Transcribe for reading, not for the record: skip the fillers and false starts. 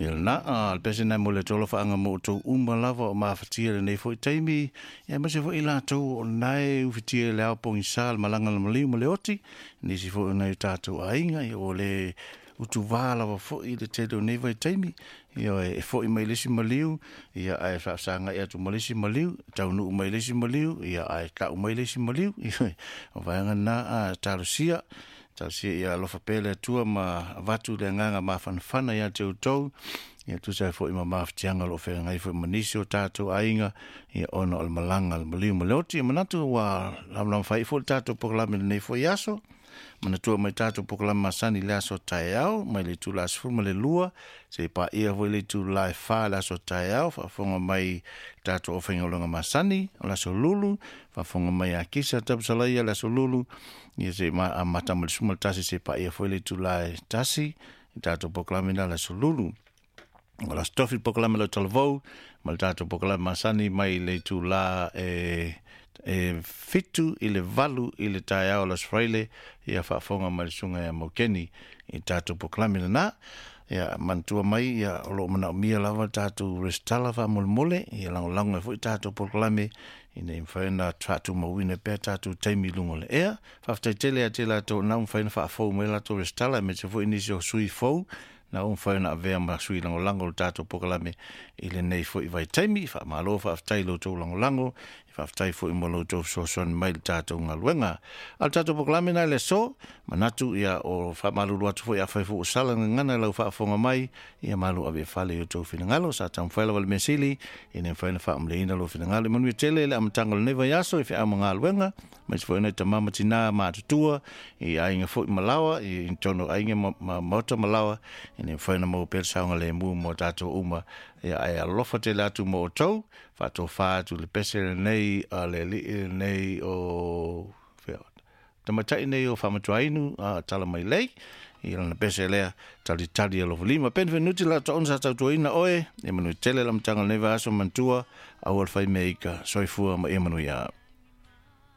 Ia lena, a le pese lena e momoli atu ai alofaaga mo outou uma lava o mafatia i lenei foi taimi, ia aemaise foi i latou o lena e ufitia i le ao pogisa le malaga a le maliu ma le oti, nisi foi o nai o tatou aiga, ia ua le utuvā lava foi i le tele o nei vaitaimi, ioe, e foi mai le isi maliu, ia ae faafesagai atu ma le isi maliu, taunuu mai le isi maliu, ia ae tau mai le isi maliu. Ioe, o vaega na, a talosia, talosia ia alofa pea le Atua ma avatu le agaga mafanafana ia te outou, ia tusa ai foi ma mafatiaga o lo o feagai foi ma nisi o tatou aiga, ia ona o le malaga a le maliu ma le oti. E manatu ua lamalama faaiu foi le tatou polokalame i lenei foi aso. Manatua mai tatou polokalame masani i le aso taeao mai le itula 12 seia paia foi le itula e 4 le aso taeao. Faafofoga mai tatou aufaigaluega masani o le aso Lulu, faafofoga mai ia Kisa Tapusalaia le aso Lulu, ia se i amata mai le 11 seia paia foi le itula e 1 i tatou polokalame na le aso Lulu. O le aso Tofi polokalame lau talavou ma le tatou polokalame masani mai le itula e 7 i le 8 i le taeao o le Aso Faraile, ia faafofoga mai le susuga ia Maukeni i le tatou polokalame lena. Ia manatua mai ia o lo o manaomia lava le tatou resitala faamolemole, ia lagolago ai foi tatou polokalame ina ia mafai ona faatumauina pea tatou taimi i luga o le ea. Faafetai tele ia te i latou o lena ua mafai ona faafou mai latou resitala aemaise foi nisi o sui fou na ua mafai ona avea ma sui lagolago o le tatou polokalame i lenei foi vaitaimi. Faamalo faafetai i lo outou lagolago, faafetai foi mo lo outou fesoasoani mai i le tatou galuega. A o le tatou polokalame lena i le aso, manatu ia o faamalulu atu foi afai foi ua sala le gagana i lau faafofoga mai, ia malu ave i fale i outou finagalo. Sa taumafai lava le mea sili ina ia mafai ona faamalieina lou finagalo. Ia manuia tele le amataga o lenei vaiaso i feau ma galuega, aemaise foi nai tama ma tina matutua i aiga foi ma laoa, i totonu o aiga ma maota ma laoa, ina ia mafai ona maua pea le saogalemu mo tatou uma. Ia ae alofa tele atu mo outou, faatofa atu le pese lenei a le alii lenei o fea, tamaitai nei o Faamatuainu a tala mai lei i lana pese lea talitali alofa lima. Ben Venuti la taona sa tautuaina oe, ia manuia tele le amataga o lenei vaiaso. Manatua, aua le fai mea ika, soifua ma ia manuia.